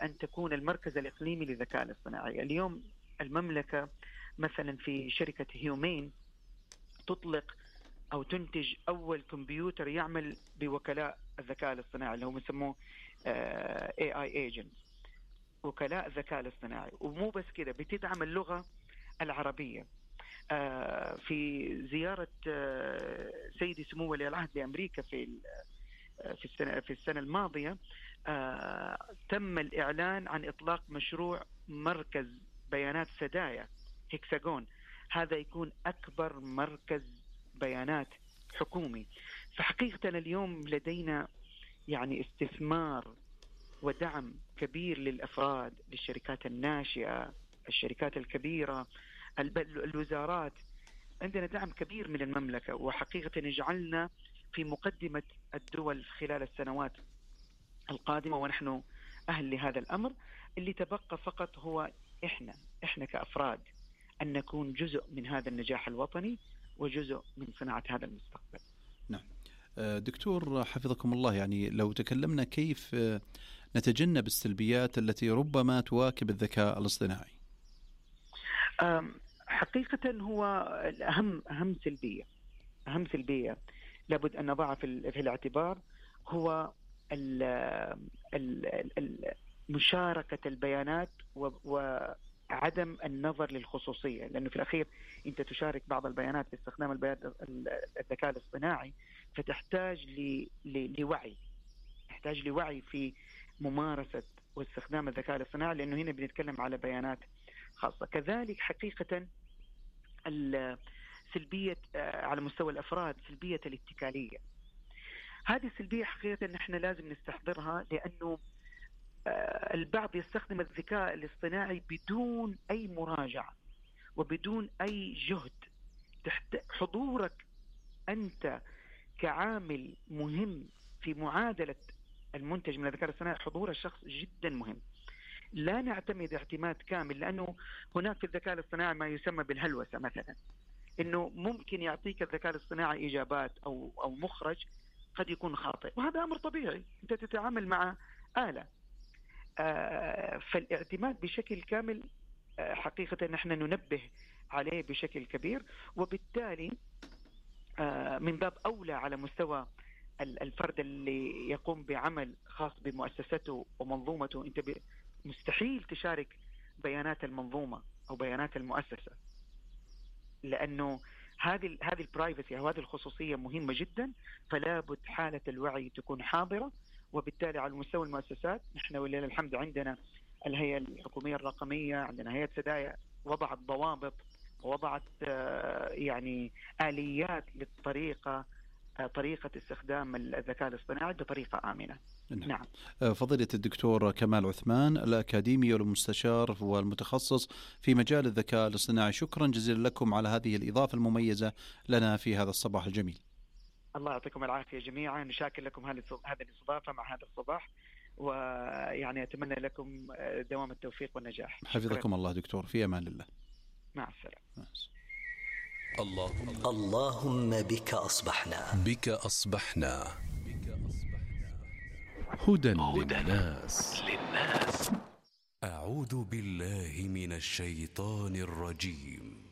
أن تكون المركز الإقليمي للذكاء الاصطناعي. اليوم المملكة مثلا في شركة هيومين تطلق أو تنتج أول كمبيوتر يعمل بوكلاء الذكاء الاصطناعي اللي هو يسموه AI agents، وكلاء الذكاء الاصطناعي. ومو بس كده، بتدعم اللغة العربية. في زيارة سيدي سمو ولي العهد لأمريكا في السنة الماضية تم الإعلان عن إطلاق مشروع مركز بيانات سدايا هيكساغون. هذا يكون أكبر مركز بيانات حكومي. فحقيقة اليوم لدينا يعني استثمار ودعم كبير للأفراد، للشركات الناشئة، الشركات الكبيرة، الوزارات. عندنا دعم كبير من المملكة، وحقيقة يجعلنا في مقدمة الدول خلال السنوات القادمة، ونحن أهل لهذا الأمر. اللي تبقى فقط هو إحنا كأفراد أن نكون جزء من هذا النجاح الوطني وجزء من صناعة هذا المستقبل. نعم دكتور حفظكم الله، يعني لو تكلمنا كيف نتجنب السلبيات التي ربما تواكب الذكاء الاصطناعي. حقيقة هو أهم سلبية لابد أن نضعها في الاعتبار هو مشاركة البيانات وعدم النظر للخصوصية، لأنه في الأخير أنت تشارك بعض البيانات باستخدام الذكاء الاصطناعي، فتحتاج لوعي في ممارسة واستخدام الذكاء الاصطناعي، لأنه هنا بنتكلم على بيانات خاصة. كذلك حقيقة السلبية على مستوى الأفراد، سلبية الاتكالية. هذه السلبية حقيقة نحن لازم نستحضرها، لأنه البعض يستخدم الذكاء الاصطناعي بدون أي مراجعة وبدون أي جهد. حضورك أنت كعامل مهم في معادلة المنتج من الذكاء الاصطناعي، حضور الشخص جدا مهم. لا نعتمد اعتماد كامل، لأنه هناك في الذكاء الاصطناعي ما يسمى بالهلوسة مثلا، إنه ممكن يعطيك الذكاء الاصطناعي إجابات أو مخرج قد يكون خاطئ، وهذا أمر طبيعي، أنت تتعامل مع آلة. فالاعتماد بشكل كامل حقيقة نحن ننبه عليه بشكل كبير، وبالتالي من باب أولى على مستوى الفرد اللي يقوم بعمل خاص بمؤسسته ومنظومته، أنت مستحيل تشارك بيانات المنظومة أو بيانات المؤسسة، لأنه هذه البرايفسي أو هذه الخصوصية مهمة جدا. فلا بد حالة الوعي تكون حاضرة، وبالتالي على مستوى المؤسسات نحن ولله الحمد عندنا الهيئة الحكومية الرقمية، عندنا هيئة سدايا وضعت ضوابط ووضعت يعني آليات طريقة استخدام الذكاء الاصطناعي بطريقة آمنة. نعم. فضيلة الدكتور كمال عثمان، الأكاديمي والمستشار والمتخصص في مجال الذكاء الاصطناعي، شكرا جزيلا لكم على هذه الإضافة المميزة لنا في هذا الصباح الجميل. الله يعطيكم العافية جميعا، نشاكر لكم هذه الاستضافة مع هذا الصباح، ويعني أتمنى لكم دوام التوفيق والنجاح. حفظكم الله دكتور، في أمان الله. مع السلامة. اللهم بك أصبحنا هدى للناس. أعوذ بالله من الشيطان الرجيم.